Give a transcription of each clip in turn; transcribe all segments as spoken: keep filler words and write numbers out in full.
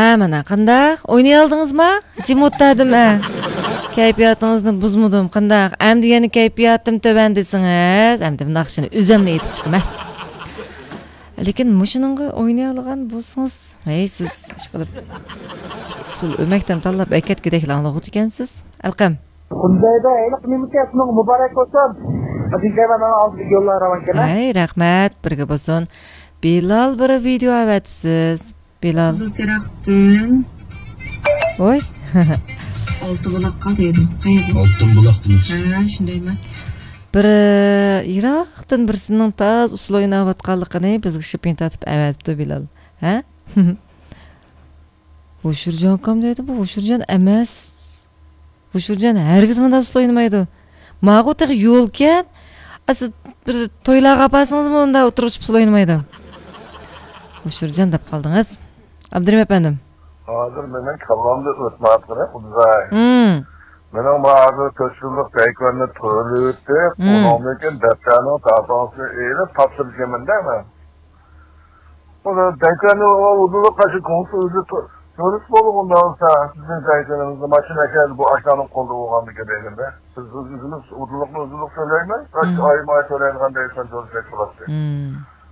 ئە، مانا، قانداق؟ ئوينىيالدىڭىزما؟ جىم ئولتۇردۇم، ئە. كەيپىياتىڭىزنى بۇزمىدىم، قانداق؟ ئەمدى يەنە كەيپىياتىم تۆۋەن دېسىڭىز، ئەمدى ناخشىنى ئۆزۈملا ئېيتىپ چىقىمەن. لېكىن مۇشۇنىڭغا ئوينىيالىغان بولسىڭىز، ھەي، سىز ئىشقىلىپ ئۇسسۇل ئۆمەكتىن تاللاپ ئەكەتكۈدەكلا ئاڭلىغۇچى ئىكەنسىز. ئەلقەم. بۇندايدا ھېلىقى نېمە ئىكەن، شۇنىڭغا مۇبارەك بولسۇن. دېگەن مانا ئالدىدىكى يوللار راۋان ئىكەن، ھە؟ ھەي، رەھمەت، بىرگە بولسۇن. بىلال بىر ۋىدېئو ئەۋەتىپسىز. بىلال. قىزىل چىراغدىن. ۋوي. ئالتە بۇلاققا دەيدۇ. قەيەردە؟ ئالتۇن بۇلاق دېمەكچى. ھە، شۇندايمۇ؟ بىر، ئى، يىراقتىن بىرسىنىڭ تازا ئۇسسۇل ئويناۋاتقانلىقىنى بىزگە شىپىڭ تارتىپ ئەۋەتىپتۇ بىلال. ھە؟ ھوشۇرجانكام دەيدۇ، بۇ ھوشۇرجان ئەمەس. ھوشۇرجان ھەرگىز مۇنداق ئۇسسۇل ئوينىمايدۇ. ماغۇ تېخى يولكەن. ئا، سىز بىر تويلارغا ئاپارسىڭىزمۇ ئۇنداق ئوتتۇرىغا چىقىپ ئۇسسۇل ئوينىمايدۇ. ھوشۇرجان دەپ قالدىڭىز. ئابدۇرېھىم ئەپەندىم. ھازىر مېنىڭ كاللامدا ئۆتمەيۋاتقىنى ئۇدزاي. ھىم. مېنىڭ ما ھازىر تۆت يىللىق دەيكۆننى تۆلىۋېتىپ، ھىم. ئۇنىڭدىن كېيىن دەپتەرنىڭ تاپاڭسىنى ئېلىپ تاپشۇرىمەن-دە مەن. ئۇنى دەيكەننى ئۇدۇلۇق قاچا كونسۇل ئۆزى تو-، تۆلىسى بولغاندا بولسا، سىزنىڭ دەيكەنىڭىزنى ماشىنا ئەكەلدى، بۇ ئاشۇلارنىڭ قولىدا بولغاندىكىن دېگەندە. بىز ئۆزىمىز ئۇدۇلۇقنى ئۇدۇلۇق تۆلەيمىز، قاچا مم. ئايماي تۆلەيدىغان دەيكەن تۆلىسەك بولاتتى. مم.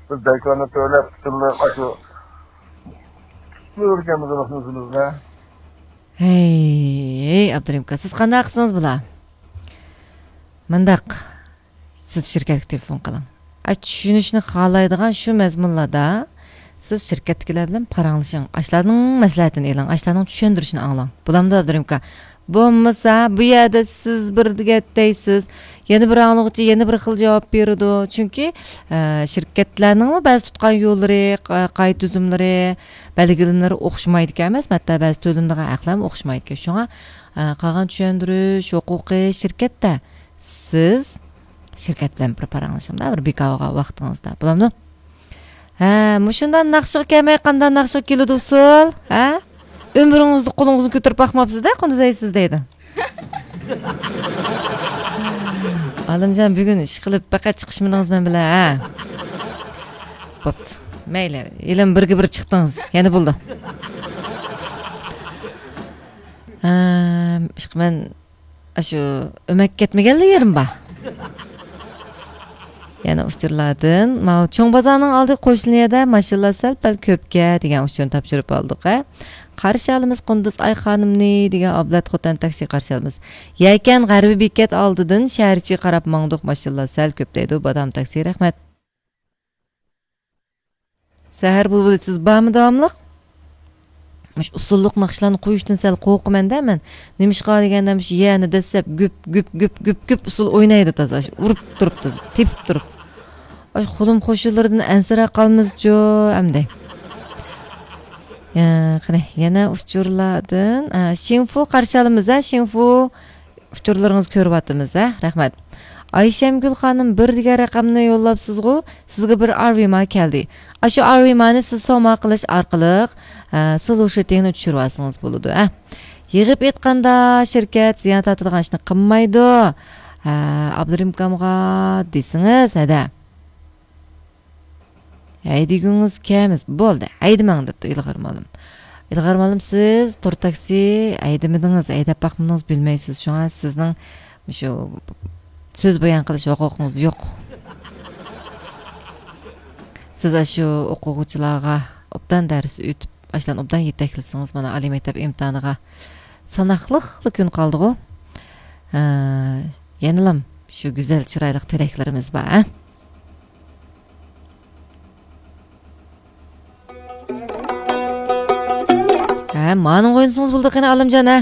بىز دەيكەننى تۆلەپ، پۈتۈنلەي ئاشۇ تۆلىگەنمىز ئۆزىمىزنى. ھەي، ھەي، ئابدۇرېھىم ئاكا، سىز قانداق قىلسىڭىز بولا؟ مۇنداق. سىز شىركەتكە تېلېفون قىلىڭ. ئا، چۈشىنىشنى خالايدىغان شۇ مەزمۇنلاردا سىز شىركەتتىكىلەر بىلەن پاراڭلىشىڭ. ئاشۇلارنىڭ مەسلىھەتىنى ئېلىڭ، ئاشۇلارنىڭ چۈشەندۈرۈشىنى ئاڭلاڭ. بولامدۇ، ئابدۇرېھىم ئاكا؟ بولمىسا، بۇ يەردە سىز بىر دېگەن دەيسىز، يەنە بىر ئاڭلىغۇچى يەنە بىر خىل جاۋاب بېرىدۇ. چۈنكى، ئە، شىركەتلەرنىڭمۇ بەزى تۇتقان يوللىرى، قا-، قائىدە تۈزۈملىرى، بەلگىلىمىلىرى ئوخشىمايدىكەن ئەمەسمۇ، ھەتتا بەزى تۆلىنىدىغان ھەقلەرمۇ ئوخشىمايدىكەن. شۇڭا، ئە، قالغان چۈشەندۈرۈش ھوقۇقى شىركەتتە. سىز شىركەت بىلەن بىر پاراڭلىشىڭدا، بىر بىكارغا ۋاقتىڭىزدا. بولامدۇ؟ ھە، مۇشۇنداق ناخشىغا كەلمەي قانداق ناخشىغا كېلىدۇ ئۇسسۇل؟ ھە؟ ئۆمرىڭىزدە قولىڭىزنى كۆتۈرۈپ باقماپسىز-دە، قۇندىزەي سىز دەيدۇ. ئالىمجان، بۈگۈن ئىشقىلىپ پەقەت چىقىشمىدىڭىز مەن بىلەن، ھە؟ بوپتۇ. مەيلى، ھېلىمۇ بىرگە بىر چىقتىڭىز. يەنە بولدى. ھە، ئىشقىلىپ مەن ئاشۇ ئۆمەككە كەتمىگەنلا يېرىم بار. يەنە ئۇچۇرلاردىن، ماۋۇ چوڭ بازارنىڭ ئالدى قوشنا يەردە ماشىنىلار سەل-پەل كۆپكەن دېگەن ئۇچۇرنى تاپشۇرۇپ ئالدۇق، ھە. قارشى ئالىمىز قۇندۇز ئاي خانىمنى دېگەن ئابلەت خوتەن تاكسى قارشى ئالىمىز. يەكەن غەربىي بېكەت ئالدىدىن شەھەر ئىچىگە قاراپ ماڭدۇق، ماشىنىلار سەل كۆپ دەيدۇ، بادام تاكسى، رەھمەت. سەھەر بۇلبۇلى، سىز بارمۇ داۋاملىق؟ مۇشۇ ئۇسسۇللۇق ناخشىلارنى قويۇشتىن سەل قورقىمەن-دە مەن. نېمىشقا دېگەندە، مۇشۇ يەنى دەسسەپ گۈپ، گۈپ، گۈپ، گۈپ، گۈپ ئۇسسۇل ئوينايدۇ تازا، ئۇرۇپ تۇرۇپ تازا، تېپىپ تۇرۇپ. ئاي، خۇلۇم قوشۇنلىرىدىن ئەنسىرەپ قالمىزچۇ ئەمدى. يا، قېنى، يەنە ئۇچۇرلاردىن، ئا، شىنفۇ قارشى ئالىمىز، ھە، شىنفۇ. ئۇچۇرلىرىڭىزنى كۆرۈۋاتىمىز، ھە؟ رەھمەت. ئايشەمگۈل خانىم بىر دېگەن رەقەمنى يوللاپسىزغۇ، سىزگە بىر ئارۋىما كەلدى. ئاشۇ ئارۋىمانى سىز سوما قىلىش ئارقىلىق، ئە، سولو شىتىڭنى چۈشۈرۈۋالسىڭىز بولىدۇ، ھە؟ يىغىپ ئېيتقاندا، شىركەت زىيان تارتىدىغان ئىشنى قىلمايدۇ. ھە، ئابدۇرېھىم ئاكامغا دېسىڭىز، ھەدە. ھەيدىگۈڭىز كەلمىسە بولدى، ھەيدىمەڭ، دەپتۇ ئىلغار مۇئەللىم. ئىلغار مۇئەللىم، سىز تور تاكسى ھەيدىمىدىڭىز، ھەيدەپ باقمىدىڭىز، بىلمەيسىز. شۇڭا سىزنىڭ مۇشۇ سۆز بايان قىلىش ھوقۇقىڭىز يوق. سىز ئاشۇ ئوقۇغۇچىلارغا ئوبدان دەرس ئۆتۈپ، ئاشۇلارنى ئوبدان يېتەكلىسىڭىز، مانا، ئالىي مەكتەپ ئىمتىھانىغا ساناقلىقلا كۈن قالدىغۇ. ھە، يەنىلام شۇ گۈزەل، چىرايلىق تىلەكلىرىمىز بار، ھە؟ ھە، مانىڭغا ئوينىسىڭىز بولىدۇ قېنى، ئالىمجان، ھە؟